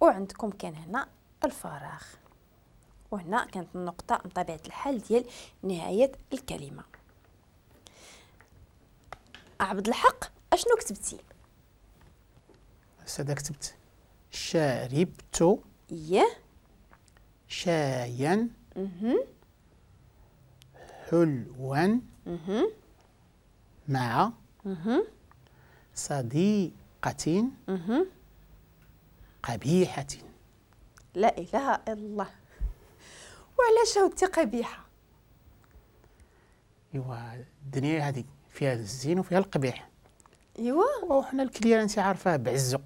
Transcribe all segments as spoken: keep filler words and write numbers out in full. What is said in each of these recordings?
وعندكم كان هنا الفراغ، وهنا كانت النقطة بطبيعة الحال ديال نهاية الكلمة. عبد الحق اشنو كتبتي؟ أستاذة كتبت شربت إيه شايا حلوا مع صديقة قبيحة. لا إله إلا الله. وعلاش هودتي قبيحة؟ إيوا الدنيا هذه فيها الزين وفيها القبيح. إيوا وحنا ال client انت عارفاه بعزو.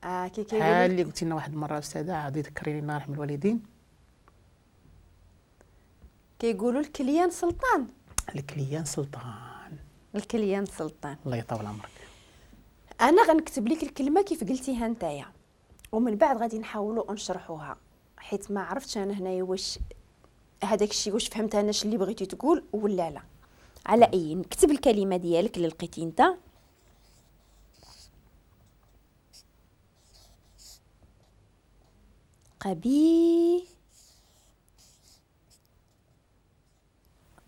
اه كي كيقول بحال اللي قلتي لنا واحد المرة أستاذة، عادي ذكريني الله يرحم الوالدين. كيقولوا ال client سلطان. ال client سلطان. ال client سلطان. الله يطول عمرك. انا غنكتب لك الكلمة كيف قلتيها نتايا، ومن بعد غادي نحاولوا نشرحوها، حيت ما عرفتش انا هنايا واش هذاك الشيء واش فهمت انا اللي بغيتي تقول ولا لا. على اي نكتب الكلمة ديالك اللي لقيتي انت. قبي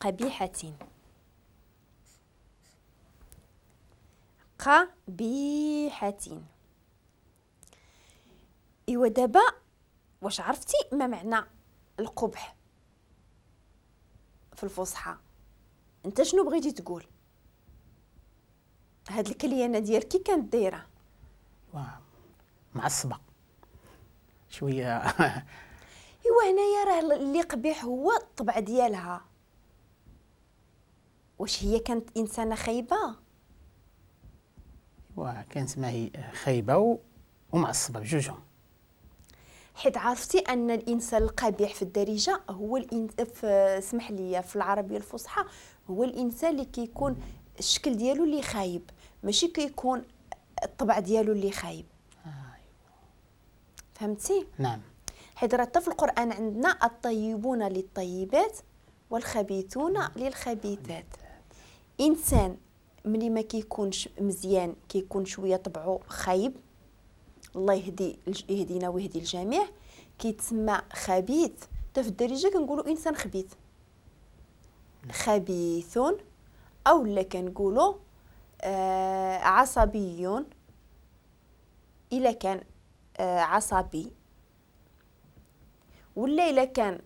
قبيحة قبيحة. ايوا دابا واش عرفتي ما معنى القبح في الفصحى؟ انت شنو بغيتي تقول؟ هاد الكليانه ديالك كي كانت دايرة؟ معصبة شوية. ايوا هنايا راه اللي قبيح هو الطبع ديالها. واش هي كانت انسانه خايبة؟ ايوا كانت ما هي خايبة ومعصبه بجوجهم. حيت عرفتي ان الانسان القبيح في الدارجة هو الإن... في... اسمح لي في العربية الفصحى هو الانسان اللي كيكون الشكل ديالو اللي خايب، ماشي كيكون الطبع ديالو اللي خايب. آه. فهمتي؟ نعم. حيت راه حتى في القران عندنا الطيبون للطيبات والخبيثون للخبيثات. انسان ملي ما كيكونش مزيان كيكون شوية طبعه خايب، الله يهدي يهدينا ويهدي الجميع، كيتسمى خبيث. حتى في الدارجة كنقولوا انسان خبيث، خبيث، او لا كنقولوا آه عصبي الا كان آه عصبي، ولا الا كان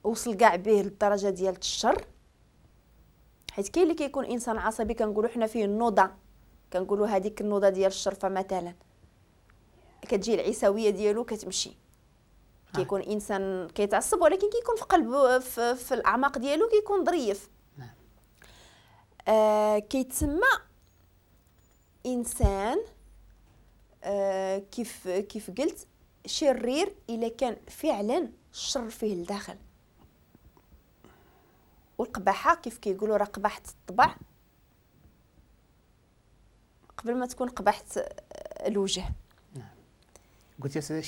وصل كاع به للدرجة ديال الشر. حيت كاين اللي كيكون انسان عصبي كنقولوا حنا فيه النوضه، كنقولوا هذيك النوضه ديال الشرفة مثلا، كتجي العيساويه ديالو كتمشي. كيكون انسان كيتعصب ولكن كيكون في قلبه في, في الاعماق ديالو كيكون ظريف. نعم. آه كيتسمى انسان آه كيف كيف قلت شرير الا كان فعلا الشر فيه لداخل. والقباحه كيف كيقولوا راه قباحه الطبع قبل ما تكون قباحه الوجه. نعم. قلت يا سيدي